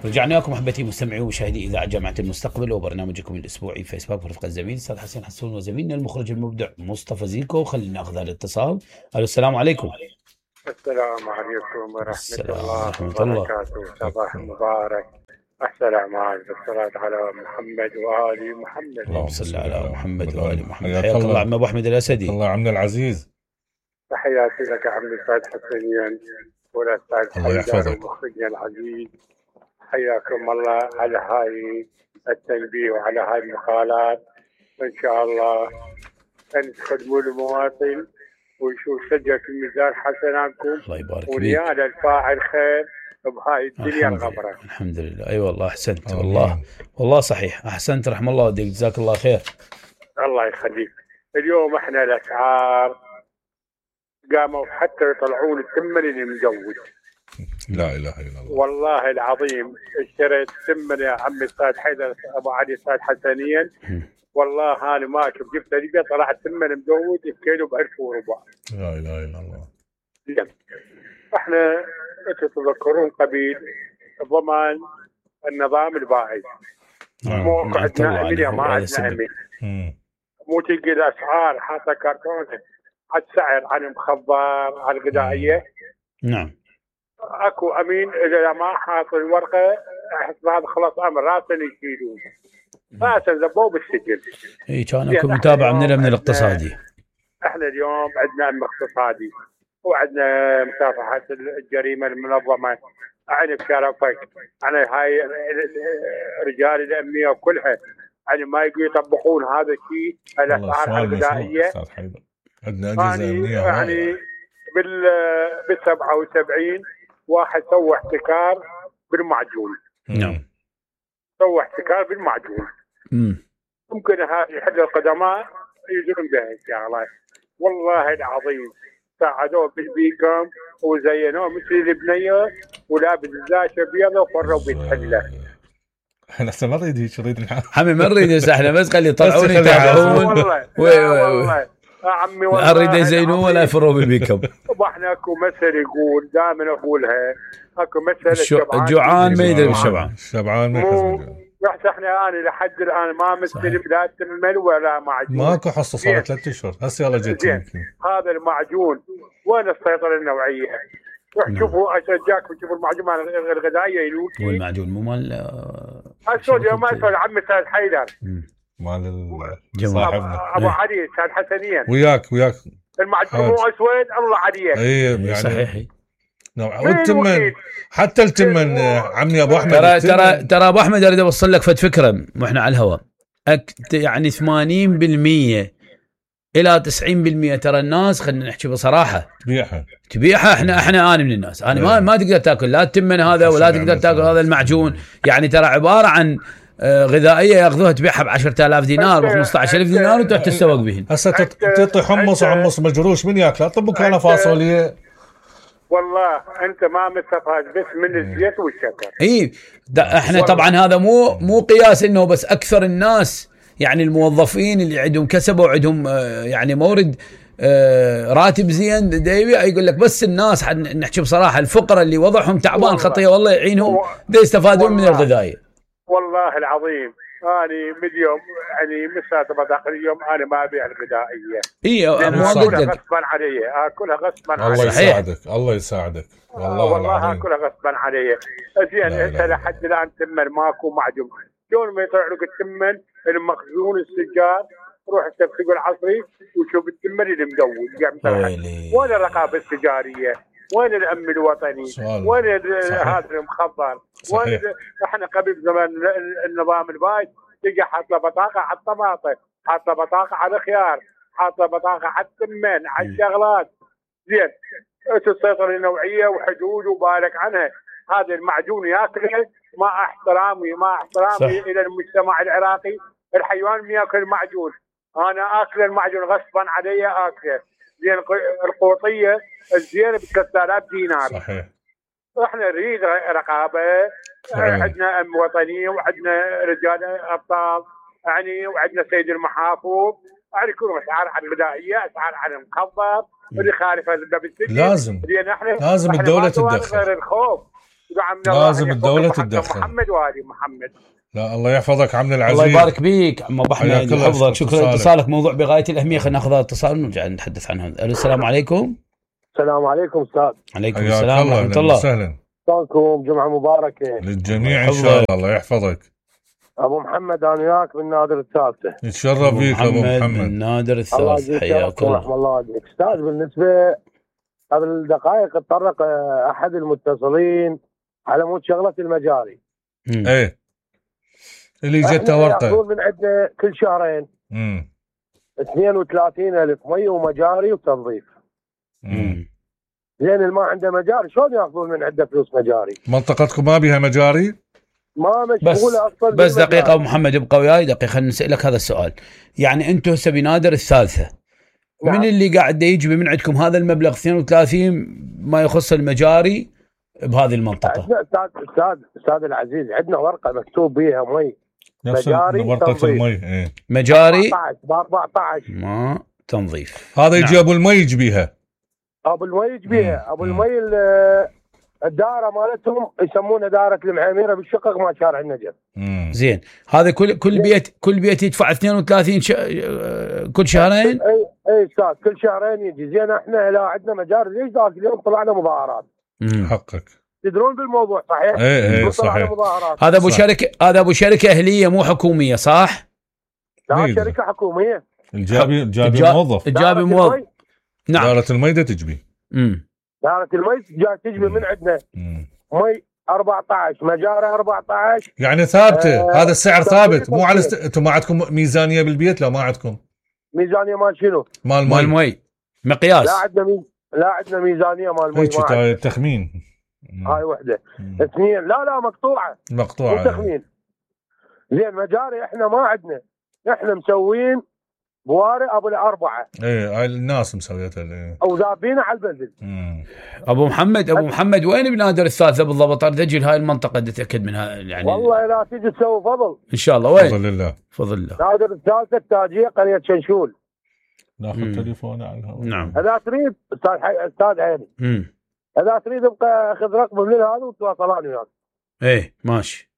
رجعنا لكم احبتي مستمعي ومشاهدي اذاعه جامعه المستقبل وبرنامجكم الاسبوعي فيسبوك ورفقه الزميل استاذ حسين حسون وزميلنا المخرج المبدع مصطفى زيكو. خلينا ناخذ هذا الاتصال. الو السلام عليكم. السلام عليكم ورحمه الله وبركاته. صباح مبارك. السلام عليكم. الصلاة على محمد وآل محمد. اللهم صل على محمد وآل محمد. حياك الله عم ابو احمد الاسدي. الله عمنا العزيز. تحياتي لك عم الاستاذ حسين والاستاذ حيدر ومخرجنا العزيز. حياكم الله على هاي التنبيه وعلى هاي المقالات. ان شاء الله ان تخدموا المواطن ويشوف سجل في ميزان حسناتكم. الله يبارك فيك. ونيال الفاعل خير بهاي الدنيا الغبرة. الحمد لله. اي والله احسنت. والله صحيح احسنت. رحم الله والديك. جزاك الله خير. الله يخليك. اليوم احنا الاسعار قاموا حتى يطلعون الثمن المزود. لا اله الا الله. والله العظيم اشتريت ثمن يا عمي استاذ حيدر ابو علي استاذ حسنيا. والله انا ما شفت جبت لقى طلعت ثمن مزود الكيلو ب 1400. لا اله الا الله. زين. احنا تتذكرون قبيل ضمان النظام البائد. مو عندنا امل ما عندنا امل. مو تلقى الاسعار حاطه كرتونه على السعر على المخبر على الغذائيه. نعم. اكو امين اذا ما حاط الورقه احس هذا خلاص امر راسا يشيلون. راسا زبوه بالسجن. اي كان اكو متابعه من الامن الاقتصادي. احنا اليوم عندنا امن اقتصادي وعندنا مكافحه الجريمه المنظمه. يعني بشرفك يعني هاي رجال الامنيه وكلها يعني ما يقدروا يطبقون هذا الشيء الاسعار الغذائيه. عندنا اجهزه امنيه يعني بال 77 واحد سوى احتكار بالمعجون. نعم. سوى احتكار بالمعجون. ممكن هذه احد القدماء يجرون بها ان شاء الله. والله العظيم ساعدوه بالبيكم وزينوه مثل البنيه ولابس زاشه بيضه وفروا بالحله. احنا ما نريد هيك نريد حمي ما نريد احنا بس خلي يطلعون يتابعون. والله عمي والله لا نريد يزينوه ولا يفروا بالبيكم. واحنا اكو مثل يقول دائما اقولها اكو مثل الجوعان ما يدري بالشبعان. الشبعان ما يخزن. رحت احنا انا لحد الان ما مستلم لا تمل ولا معجون. ماكو حصه صار 3 اشهر هسه يلا جيت. هذا المعجون وين السيطره النوعيه؟ روح شوفوا اشجعكم تشوفوا المعجون مال الغذائيه يلوكي. والمعجون مو مال السعوديه ما يسوي عمي استاذ حيدر مال صاحبنا ابو علي استاذ حسنيا وياك المعجون مو اسود الله عليه. اي يعني صحيح. والتمن حتى التمن عمي ابو احمد. ترى ابو احمد اريد اوصل لك فد فكره واحنا على الهواء. يعني 80% الى 90% ترى الناس خلينا نحكي بصراحه تبيعها. احنا انا من الناس انا ما تقدر تاكل لا التمن هذا ولا تقدر تاكل هذا المعجون. يعني ترى عباره عن غذائيه ياخذوها تبيعها ب 10,000 دينار ب 15,000 دينار وتروح تتسوق بهن. هسه تعطي حمص وحمص مجروش من ياكله؟ طب كان فاصوليا. والله انت ما مستفاد بس من الزيت والشكر. اي احنا طبعا هذا مو قياس انه بس اكثر الناس يعني الموظفين اللي عندهم كسب وعندهم يعني مورد راتب زين يقول لك بس الناس نحكي بصراحه الفقراء اللي وضعهم تعبان خطيه والله يعينهم يستفادون من الغذاء. والله العظيم أنا مليوم يعني مسافة بطاقة اليوم أنا ما أبيع الغذائية. أكلها غصبا علي أكلها غصبا علي. الله يساعدك الله يساعدك والله أكلها غصبا علي. زين أنت لحد الآن تمن ماكو معجون. شلون ما يطلع لك التمن المخزون السجاد روح السوق العصري وشوف التمن اللي مدود. وين الرقابة التجارية؟ وين الامن الوطني؟ وين هذا المخبر؟ وين احنا قبل زمان النظام البايد تلقى حاط له بطاقه على الطماطم، حاط له بطاقه على الخيار، حاط له بطاقه على الثمن، على الشغلات. زين السيطره النوعيه وحدود وبالك عنها. هذا المعجون ياكله مع احترامي الى المجتمع العراقي. الحيوان من ياكل المعجون انا اكل المعجون غصبا علي اكله. زين القوطيه الزينه ب 3000 دينار. صحيح. احنا نريد رقابه. عندنا امن وطني وعندنا رجال ابطال يعني وعندنا سيد المحافظ يعني يكون اسعار على الغذائيه اسعار على المخبر اللي خالف هذا بالسجن. لازم الدوله تتدخل. غير الخوف لازم الدولة تتدخل. محمد وهذه محمد. لا الله يحفظك عمنا العزيز. الله يبارك بيك عم ابو احمد يحفظك. شكرا لاتصالك. موضوع بغايه الاهميه. خلينا ناخذ اتصال ونرجع نتحدث عنه. السلام عليكم. السلام عليكم استاذ. عليكم السلام ورحمه الله. وسهلا. شلونكم؟ جمعه مباركه للجميع ان شاء الله. الله يحفظك. ابو محمد انا وياك من نادر الثالثه. نتشرف فيك ابو محمد من نادر الثالثه. حياك الله. رحم الله عليك استاذ. بالنسبه قبل دقائق تطرق احد المتصلين على مود شغله المجاري. ايه اللي جته ورقه ياخذون من عندنا كل شهرين 32,000 مي ومجاري وتنظيف. زين اللي ما عنده مجاري شلون ياخذون من عنده فلوس مجاري؟ منطقتكم ما بيها مجاري؟ ما مشغوله اصلا. بس دقيقه ابو محمد ابقى وياي دقيقه. خلينا نسالك هذا السؤال. يعني انتم هسه بنادر الثالثه نعم. من اللي قاعد يجي من عندكم هذا المبلغ 32 ما يخص المجاري بهذه المنطقه؟ استاذ العزيز عندنا ورقه مكتوب بها مي مجاري ورقه المي. ايه مجاري 14 ما تنظيف. هذا يجي ابو المي يجبيها. ابو المي يجبيها. ابو المي الدائره مالتهم يسمونها دائره المعاميره بالشقق مع شارع النجف. زين هذا كل بيت يدفع 32 كل شهرين؟ اي استاذ كل شهرين يجي. زين احنا لا عندنا مجاري. ليش ذاك اليوم طلعنا مظاهرات؟ حقك تدرون بالموضوع صحيح؟ ايه صحيح. هذا ابو شركه اهليه مو حكوميه صح؟ لا شركه حكوميه. الجابي موظف. الجابي موظف. نعم. دارة المي ده تجبي. دارة المي جاي تجبي من عندنا. مي 14 مجاري 14 يعني ثابته. هذا السعر ثابت مو على انتم ما عندكم ميزانيه بالبيت؟ لا ما عندكم ميزانيه. مال شنو؟ مال المي مقياس. لا عندنا ميزانيه مال المي. هيك تخمين. هاي وحده. اثنين لا مقطوعه مو تخمين. زين مجاري احنا ما عندنا. احنا مسوين بواري ابو الاربعه. ايه هاي الناس مسويتها. ايه او ذابينه على البنزل. ابو محمد وين بنادر الثالثه بالضبط؟ اريد هاي المنطقه اتاكد منها يعني. والله لا تيجي تسوي فضل ان شاء الله. وين؟ فضل الله. نادر الثالثه التاجيه قريه شنشول. ناخذ تليفونه على الهواء. نعم. اذا تريد استاذ عيني. اذا تريد ابقى اخذ رقم من هذا وتواصلان وياك. ايه ماشي.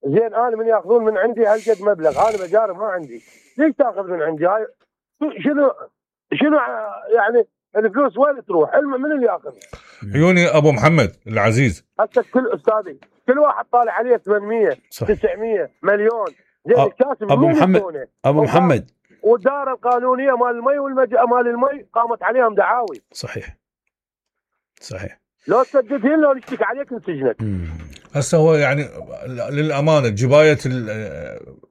زين انا من ياخذون من عندي هالقد مبلغ. انا مجاري ما عندي. ليش تاخذ من عندي؟ هاي شنو يعني الفلوس وين تروح؟ من اللي ياخذ؟ عيوني ابو محمد العزيز. هسه كل استاذي كل واحد طالع عليه 800 900 مليون. زين الكاسب ابو محمد والدائره القانونيه مال المي مال المي قامت عليهم دعاوي. صحيح. لو تسددين لو نشتكي عليك نسجنك. هسه هو يعني للامانه جبايه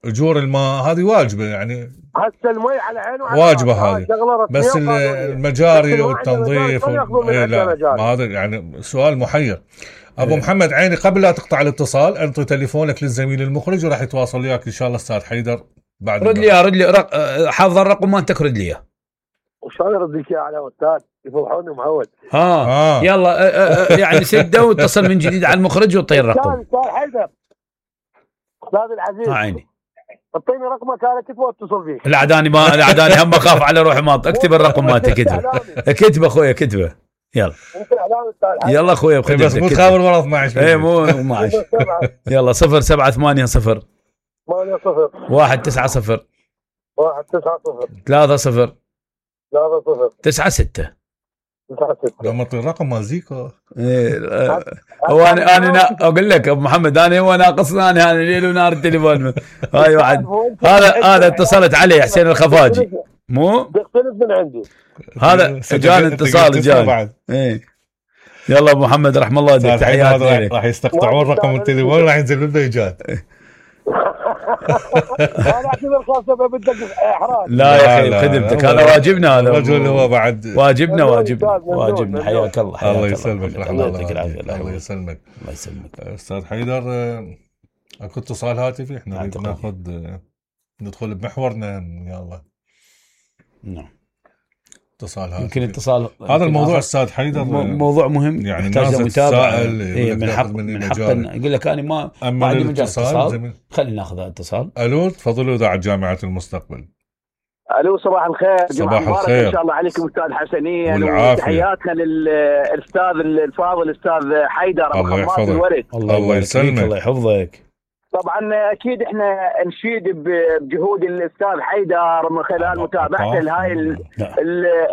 اجور الماء هذه واجبه يعني. هسه المي على عينه واجبه هذه. بس المجاري والتنظيف لا هذا يعني سؤال محير. ابو محمد عيني قبل لا تقطع الاتصال انطي تليفونك للزميل المخرج وراح يتواصل وياك ان شاء الله استاذ حيدر بعد. رد لي حافظ الرقم ما انت ترد لي اياه. وشلون ارد لك اياه على استاذ؟ يفضحوني معود. يلا يعني سده واتصل من جديد على المخرج وطي الرقم. استاذ حيدر استاذ العزيز. عيني. اعطيني رقمك انا كتبه واتصل فيك. العداني هم اخاف على روحي ما اكتب الرقم مالتي. كتبه اخويا كتبه. يلا يلا اخويا بس مو تخابر ورا 12. اي مو 12. يلا 0780 190 190 30 96. لما اعطي الرقم مال زيكو. هو انا اقول لك ابو محمد هو ناقصنا انا ليل ونهار التليفون. هاي واحد هذا اتصلت عليه حسين الخفاجي مو بيختلف من عندي. هذا جاني اتصال جاني. يلا ابو محمد رحم الله والديك. تحياتي. راح يستقطعون رقم التليفون راح ينزل بالبيجات. انا اعتبر خاصه بدك احراج. لا يا اخي خدمتك هذا واجبنا. هذا الرجل هو بعد واجبنا. حياك الله. الله يسلمك. الله يعطيك العافيه. الله يسلمك. الله يسلمك. استاذ حيدر اكو اتصال هاتفي احنا ناخذ ندخل بمحورنا يلا. نعم اتصال هاتفي. يمكن اتصال هذا الموضوع استاذ حيدر موضوع مهم يعني الناس تتساءل. من حق يقول لك انا ما عندي مجال اتصال. خلينا ناخذ اتصال. الو تفضلوا اذاعه جامعه المستقبل. الو صباح الخير. صباح الخير ان شاء الله عليكم استاذ حسنين، وتحياتنا للاستاذ الفاضل الاستاذ حيدر ابو خماس الورد. الله يسلمك الله يحفظك. طبعا اكيد احنا نشيد بجهود الاستاذ حيدر من خلال متابعته لهاي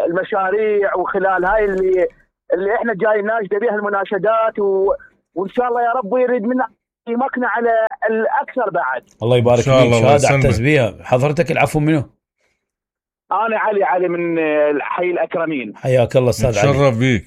المشاريع، وخلال هاي اللي احنا جاي ناشده بها المناشدات، وان شاء الله يا رب يريد منا يمكنا على الاكثر بعد. الله يبارك فيك. شهاده اعتز بها. حضرتك العفو منه؟ انا علي من حي الاكرمين. حياك الله استاذ علي. تشرف بيك.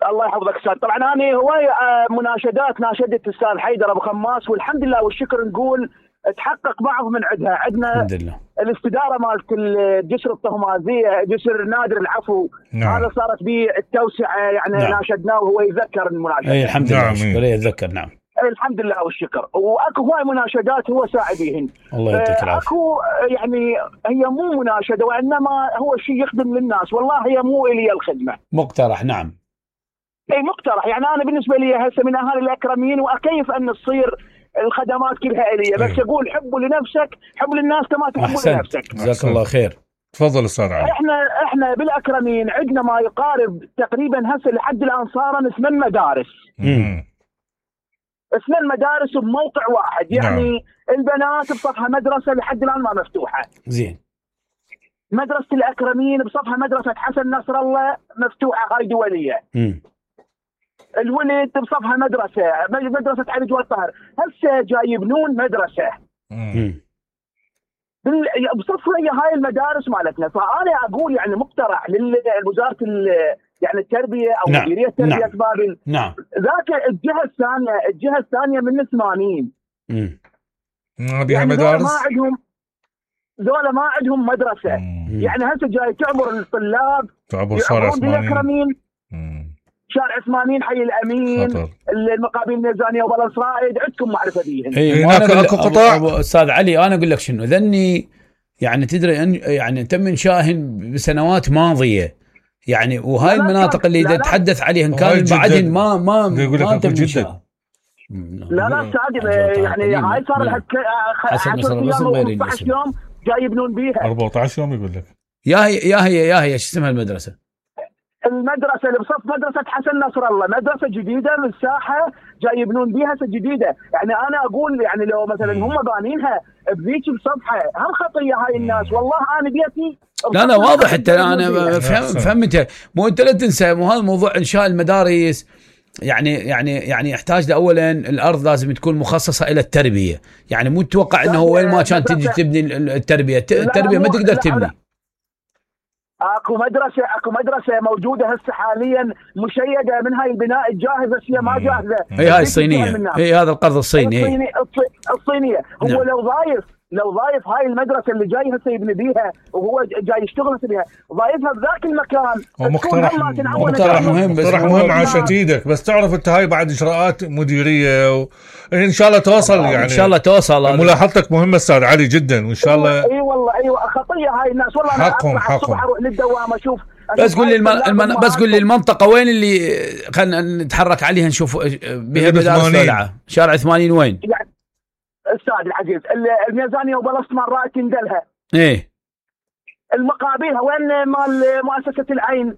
الله يحفظك استاذ. طبعا انا هوايه مناشدات ناشدت الاستاذ حيدر ابو خماس، والحمد لله والشكر نقول تحقق بعض من عندنا الحمد لله. الاستداره مالت الجسر الطهمازيه، جسر نادر العفو. نعم. هذا صارت به التوسعه يعني. نعم. ناشدناه وهو يذكر المناشده. اي الحمد لله. نعم. يتذكر. نعم الحمد لله والشكر. واكو هواي مناشدات هو ساعد بهن. الله يعطيك العافيه. اكو يعني هي مو مناشده وانما هو شيء يخدم للناس. والله هي مو الي الخدمه، مقترح. نعم اي مقترح. يعني انا بالنسبه لي هسه من اهالي الاكرمين، واكيف ان تصير الخدمات كلها اليه، بس اقول حبوا لنفسك، حب للناس كما تحب لنفسك. جزاك الله خير. تفضل استاذ علي. احنا بالاكرمين عندنا ما يقارب تقريبا هسه لحد الان صار 8 مدارس. 8 مدارس بموقع واحد. يعني نعم. البنات بصفها مدرسه لحد الان ما مفتوحه. زين. مدرسه الاكرمين بصفها مدرسه حسن نصر الله مفتوحه، هاي دوليه. الولد بصفها مدرسه علي جواد طاهر. هسه جاي يبنون مدرسه بصفها هي هاي المدارس مالتنا. فانا اقول يعني مقترح لوزاره يعني التربيه او نعم. مديريه التربيه نعم. بابل. نعم. ذاك الجهه الثانيه من 80 بها يعني مدارس. ذولا ما عندهم مدرسه. يعني هسه جاي تعبر الطلاب، تعبر شارع عثمانين، شارع عثمانين، حي الامين، خطر. المقابل الميزانيه وبلنصرايد، عندكم معرفه بيهن. هناك اكو قطاع. استاذ علي انا اقول لك شنو ذني، يعني تدري يعني تم انشائهن بسنوات ماضيه، يعني وهاي المناطق اللي تتحدث عليها كان بعدين ما تم انشاء. لا يعني هاي صار لها حسن نصر الله 14 يوم جاي يبنون بيها. 14 يوم يقول لك. يا هي شو اسمها المدرسه؟ المدرسه اللي بصف مدرسه حسن نصر الله، مدرسه جديده من الساحه جاي يبنون بيها جديده. يعني انا اقول يعني لو مثلا هم بانينها بذيك بصفحه، هم خطيه هاي الناس. والله انا بيتي لا واضح. انت انا فهمت. مو انت لا تنسى، مو هذا موضوع انشاء المدارس يعني يحتاج اولا الارض لازم تكون مخصصه الى التربيه. يعني مو تتوقع انه وين ما كان تجي تبني التربيه ما تقدر تبني. اكو مدرسه موجوده هسه حاليا مشيده من هاي البناء الجاهزه، هي ما جاهزه. هي هاي الصينيه، هي هذا القرض الصيني. الصينيه. هو نعم. لو ضايف هاي المدرسه اللي جاي هسه يبني بيها وهو جاي يشتغل بيها، ضايفها بذاك المكان. مقترح مهم عشان ايدك، بس تعرف انت هاي بعد اجراءات مديريه ان شاء الله توصل. يعني ان شاء الله توصل. ملاحظتك مهمه استاذ علي جدا، وان شاء الله. اي والله ايوه خطيه هاي الناس. والله انا اطلع الصبح اروح للدوام اشوف. بس قول لي المنطقه وين اللي خلينا نتحرك عليها نشوف بها مدارس ولعه. شارع 80 وين؟ يعني استاذ العزيز الميزانيه وبلصت مرات تندلها. ايه المقابلها وين مال مؤسسه العين.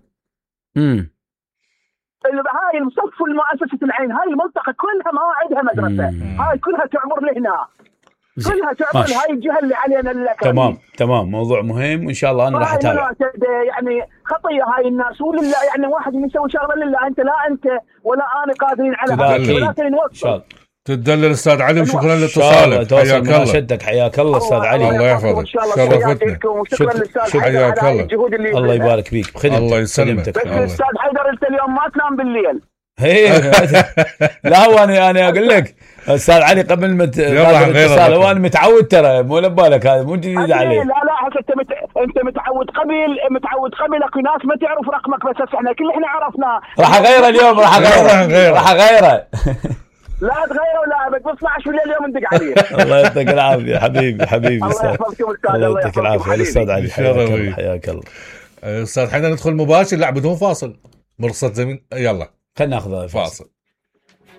هاي المصف المؤسسه العين، هاي المنطقه كلها ما عندها مدرسه. هاي كلها تعبر لهنا، كلها تعبر هاي الجهه اللي علينا الأكرمين. تمام موضوع مهم، وان شاء الله انا راح اتابع. يعني خطيه هاي الناس، ولله يعني واحد يسوي شغله لله. انت لا انت ولا انا قادرين على هذا، ولكن نوصل. تدلل استاذ علي، وشكرا لاتصالك. حياك الله. شدك حياك الله استاذ علي. الله يحفظك. شرفتنا. وشكرا للاستاذ حياك الله. الله يبارك فيك بخدمتك. الله يسلمك. استاذ حيدر انت اليوم ما تنام بالليل. لا وانا اقول لك استاذ علي قبل ما الاتصال وانا متعود، ترى مو لبالك، هذا مو جديد علي. لا انت متعود قبل اكو ناس ما تعرف رقمك، بس احنا عرفناه. راح اغيره اليوم، راح اغيره لا تغيره ولا بس 12 بالليل اليوم ندق عليه. الله يعطيك العافيه حبيبي الله يحفظكم استاذ. الله يعطيك العافيه الاستاذ علي. حياك الله استاذ. حنا ندخل مباشر لا بدون فاصل، مرصد زمين. يلا خلينا ناخذ فاصل.